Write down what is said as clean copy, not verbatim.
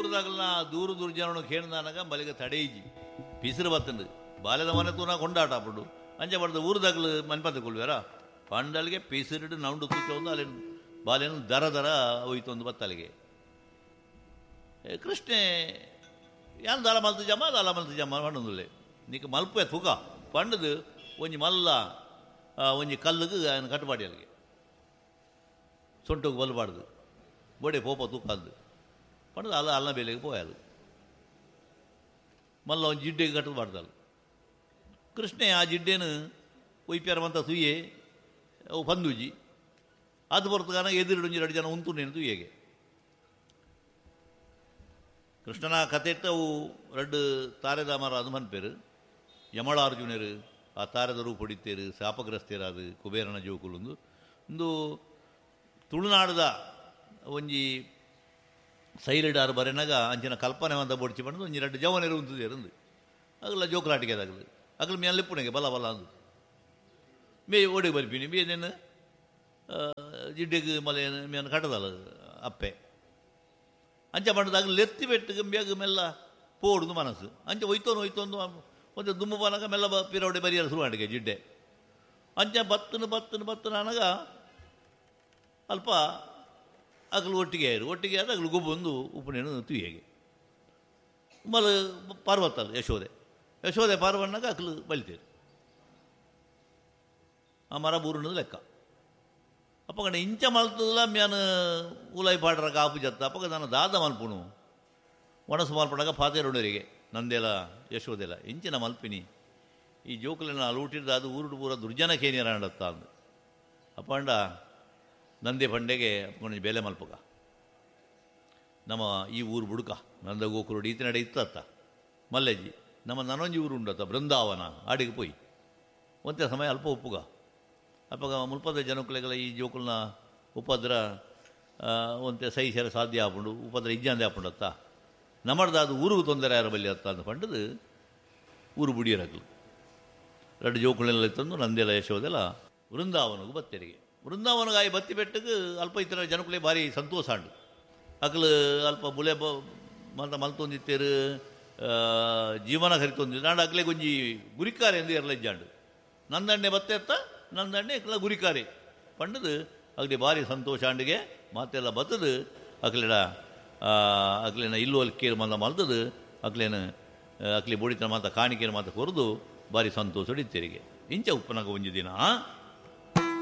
ಊರುದಾಗಲ ದೂರ ದೂರ ಜನನು ಕೇಳ್ದಾನಾಗ ಬಲಿಗೆ ತಡೆಯಿಜಿ ಪಿಸಿರು ಬತ್ತಂದು ಬಾಲ್ಯದ ಮನೆ ತೂನ ಕೊಂಡಾಟ ಆಪುಂಡು ಅಂಚೆ ಬಡ್ದು ಊರುದಾಗಲು ಮನ್ಪಂತ ಕೊಳ್ವೇರ ಪಂಡಲ್ಗೆ ಪಿಸಿರಿಡು ನೌಂಡು ತೂಚೊಂದು ಅಲ್ಲಿ ಬಾಲ್ಯನ ದರ ದರ ಹೋಯ್ತೊಂದು ಬತ್ತಲಿಗೆ. ಕೃಷ್ಣೆ ಯಾನ್ ದಾಲ ಮಲ್ತು ಜಮ್ಮ ದಾಲ ಮಲ್ತು ಜಮ್ಮ ಪಂಡೊಂದುಲ್ಲೆ ನಿಕ್ ಮಲ್ಪೆ ತುಕ ಪಂಡದು ಒಂಜಿ ಮಲ್ಲ ಒಂಜಿ ಕಲ್ಲುಗು ఆయన ಕಟ್ಟುಪಾಡಿ ಅಲ್ಲಿಗೆ ಸೊಂಟುಗು ಬಲ್ಬಾಡ್ದು ಬೋಡೆ ಪೋಪ ತೂಕಂದು ಪಂಡದು ಅಲ್ಲ ಅಲ್ಲ ಬೇಲೆಗೆ ಪೋಯಾಲು ಮಲ್ಲ ಒಂಜಿ ಜಿಡ್ಡೆಗೆ ಕಟ್ಟು ಬಾಡ್ದಲ್ಲ. ಕೃಷ್ಣೆ ಆ ಜಿಡ್ಡೆನು ಒಯ್ಪ್ಯಾರವಂತ ತುಯ್ಯೆ ಅವು ಪಂದೂಜಿ ಅದು ಹೊರತುಗಾನ ಎದುರು ಒಂಜಿ ಎರಡು ಜನ ಉಂತು ನೇನು ತುಯ್ಯೆಗೆ. ಕೃಷ್ಣನ ಕಥೆಟ್ಟು ಅವು ರಡ್ಡು ತಾರೆದ ಮರ ಅದು ಮನ್ಪೇರು ಯಮಳಾರ್ಜುನರು ಆ ತಾರೆದ ರೂಪ ಹೊಡಿತೇರು ಶಾಪಗ್ರಸ್ತೇರಾದು ಕುಬೇರನ ಜೋಕುಲುಂದು ಒಂದು ತುಳುನಾಡದ ಒಂಜಿ ಸೈಲಿಡಾರು ಬರೆನಾಗ ಅಂಚಿನ ಕಲ್ಪನೆ ಅಂತ ಬೊಡ್ಚಿ ಪಂಡದು ಒಂಜಿ ರಡ್ಡು ಜವನೇರು ಉಂತುದೇರಂದು ಅಗಲ ಜೋಕುಲಾಟಿಕೆ ಅದಾಗಲು ಅಗಲ ಮೇಲೆ ಪುಣೆಗೆ ಬಲ ಬಲ ಅಂದು ಮೇ ಓಡಿ ಬರ್ಪಿನಿ ಮೇನೇನು ಜಿಡ್ಡೆಗೆ ಮಲೆ ಮೇನು ಕಟ್ಟದಲ್ಲ ಅಪ್ಪೆ ಅಂಚ ಪಂಡದಾಗ ಲೆತ್ತಿ ಬೆಟ್ಟಿಗೆ ಬೇಗ ಮೆಲ್ಲ ಪೋಡುದು ಮನಸ್ಸು ಅಂಚೆ ಒಯ್ತೋನು ಒಯ್ತೊಂದು ಒಂದು ದುಮ್ಮು ಬನಗ ಮೆಲ್ಲ ಪಿರವಡೆ ಬರಿಯಲು ಶುರು ಮಾಡಿಗೆ ಜಿಡ್ಡೆ ಅಂಚೆ ಬತ್ತನು ಬತ್ತನು ಬತ್ತನ ಅನಗ ಅಲ್ಪ ಅಗಲು ಒಟ್ಟಿಗೆ ಆಯಿರು ಒಟ್ಟಿಗೆ ಆದ ಅಗಲು ಗೊಬ್ಬೊಂದು ಉಪ್ಪನೇನು ತುಯ್ಯಗೆ ಮಲ ಪಾರ್ವತ್ತಲ್ಲ ಯಶೋದೆ ಯಶೋದೆ ಪಾರ್ವಣ್ಣಾಗ ಅಗಲು ಬಲಿತೇರು ಆ ಮರ ಬೂರುಣದ ಲೆಕ್ಕ. ಅಪ್ಪಗಣ ಇಂಚ ಮಲ್ತದಲ್ಲ ಮ್ಯಾನ ಉಲಾಯಿ ಪಾಡ್ರ ಕಾಪು ಜತ್ತ ಅಪ್ಪಗ ನಾನು ದಾದ ಮಲ್ಪುಣು ಒಣಸು ಮಲ್ಪಡಾಗ ಪಾತೇರುಣರಿಗೆ ನಂದೆಲ ಯಶೋದೆಲ ಇಂಚಿನ ಮಲ್ಪಿನಿ ಈ ಜೋಕುಲೆನ ಅಲೂಟಿರ್ದ ಅದು ಊರುಡು ಪೂರ ದುರ್ಜನ ಕೇನಿಯರ ಅಂದು ಅಪ್ಪಂಡ ನಂದೆ ಪಂಡೆಗೆ ಅಪ್ಪಗೊಂಡು ಬೇಲೆ ಮಲ್ಪಗ ನಮ್ಮ ಈ ಊರು ಬುಡುಕ ನಂದ ಗೋಕುರುಡು ಈತನಡೆ ಇತ್ತತ್ತ ಮಲ್ಲೆಜ್ಜಿ ನಮ್ಮ ನನೊಂಜಿ ಊರು ಉಂಡತ್ತ ಬೃಂದಾವನ ಆಡಿಗೆ ಪೋಯಿ ಒಂತೆ ಸಮಯ ಅಲ್ಪ ಉಪ್ಪುಗ ಅಪ್ಪಗ ಮುಲ್ಪದ ಜನಕುಲೆಗಳ ಈ ಜೋಕುಲ್ನ ಉಪದ್ರ ಒಂತೆ ಸಹಿಸರ ಸಾಧ್ಯ ಆಪುಂಡು ಉಪದ್ರ ಇಜ್ಜಾಂದೆ ಆಪುಂಡತ್ತ ನಮ್ಮಡ್ದ ಅದು ಊರಿಗೆ ತೊಂದರೆ ಯಾರ ಬಲ್ಲಿ ಅತ್ತ ಅಂತ ಪಂಡದು ಊರು ಬುಡಿಯರಗ್ಲು ಎರಡು ಜೋಕುಲೆಲ್ಲ ತಂದು ನಂದೆಲ್ಲ ಯಶೋದೆಲ್ಲ ವೃಂದಾವನಗೂ ಬತ್ತೆರಿಗೆ ವೃಂದಾವನಗಾಯಿ ಬತ್ತಿ ಬೆಟ್ಟಕ್ಕೆ ಅಲ್ಪ ಇತರ ಜನಕುಲೆ ಭಾರಿ ಸಂತೋಷ ಅಂಡು ಅಕ್ಲು ಅಲ್ಪ ಬುಲೆ ಮಲ್ತ ಮಲ್ತೊಂದಿತ್ತೇರು ಜೀವನ ಕರಿತೊಂದಿತ್ತು ನಾಡು ಅಕ್ಲೆ ಗೊಂಜಿ ಗುರಿಕಾರೆ ಎಂದು ಎರಲೆಜ್ಜಾಂಡು ನಂದಣ್ಣೆ ಬತ್ತೆತ್ತ ನಂದಣ್ಣೆ ಇಕ್ಲ ಗುರಿಕಾರೆ ಪಂಡದು ಅಗ್ಲಿ ಭಾರಿ ಸಂತೋಷ ಅಂಡಿಗೆ ಮಾತೆಲ್ಲ ಬತ್ತದು ಅಕ್ಲೆಡ ಅಕ್ಲೇನ ಇಲ್ಲೋಲ್ ಕೇರ್ ಮಂದ ಮಲ್ತದು ಅಕ್ಲೇನ ಅಕ್ಲಿ ಬೋಡಿತನ ಮಾತ ಕಾಣಿಕೆನ ಮಾತ ಕೊರದು ಭಾರಿ ಸಂತೋಷ ಇತ್ತೆರಿಗೆ ಇಂಚ ಉಪ್ಪನಾಗ ಒಂಜಿ ದಿನ.